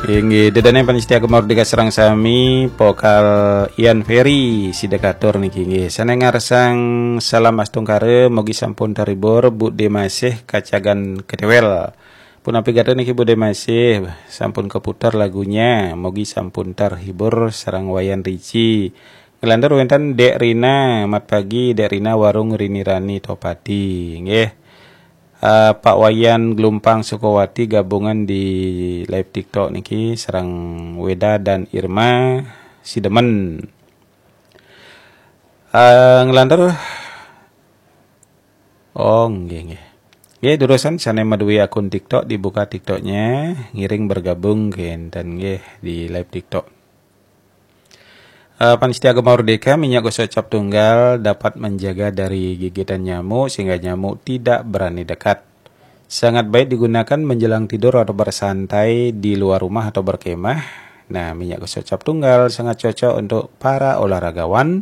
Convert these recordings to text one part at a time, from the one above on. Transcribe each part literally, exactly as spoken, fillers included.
Inggih, ida dané pamiarsa Gema Merdeka sareng sami, pokal Ian Ferry sida katur niki, inggih. Sané ngarsang salam astungkara, mugi sampun terhibur, Budé Masih kacagan ketéwél. Punapi gatra niki Budé Masih, sampun keputar lagunya, mugi sampun terhibur sareng Wayan Rici. Nglantur wénten Dék Rina, mat pagi Dék Rina warung Rini Rani Topati, inggih. Eh, Pak Wayan Gelumpang Sukawati gabungan di live TikTok niki sareng Weda dan Irma Sidemen. Eh, nglantur. Oh, nggih, nggih. Nggih, durusang sané madué akun TikTok dibuka TikToknya, ngiring bergabung kénten nggih di live TikTok. Eh, pamiarsa Gema Merdeka, minyak gosok cap tunggal dapat menjaga dari gigitan nyamuk sehingga nyamuk tidak berani dekat. Sangat baik digunakan menjelang tidur atau bersantai di luar rumah atau berkemah. Nah, minyak gosok cap tunggal sangat cocok untuk para olahragawan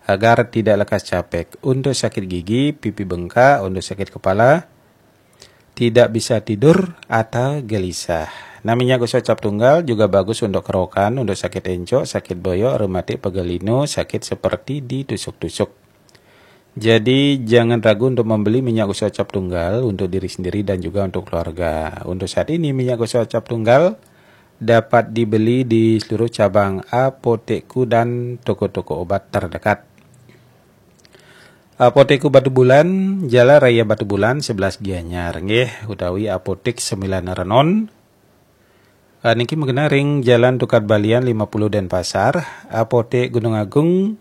agar tidak lekas capek. Untuk sakit gigi, pipi bengkak, untuk sakit kepala, tidak bisa tidur atau gelisah. Nah, minyak gosok cap tunggal juga bagus untuk kerokan, untuk sakit encok, sakit boyok, rematik, pegal linu, sakit seperti ditusuk-tusuk. Jadi, jangan ragu untuk membeli minyak gosok cap tunggal untuk diri sendiri dan juga untuk keluarga. Untuk saat ini, minyak gosok cap tunggal dapat dibeli di seluruh cabang Apotekku dan toko-toko obat terdekat. Apotekku Batubulan, Jalan Raya Batubulan sebelas Gianyar, nggih, utawi Apotek Sembilan Renon. Ah, niki magenah ring Jalan Tukad Balian lima puluh Denpasar, Apotek Gunung Agung,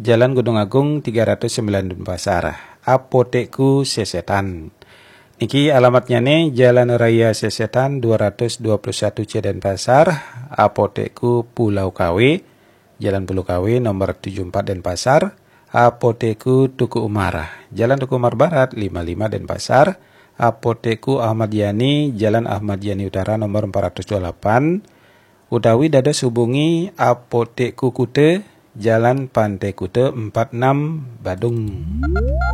Jalan Gunung Agung tiga ratus sembilan Denpasar, Apotekku Sesetan. Niki alamatnya nih Jalan Raya Sesetan dua ratus dua puluh satu C Denpasar, Apotekku Pulau Kawe, Jalan Pulau Kawe nomor tujuh empat Denpasar, Apotekku Teuku Umar, Jalan Teuku Umar Barat lima lima Denpasar, Apotekku Ahmad Yani, Jalan Ahmad Yani Utara nomor empat ratus dua puluh delapan, utawi dados hubungi Apotekku Kute, Jalan Pantai Kute empat enam, Badung.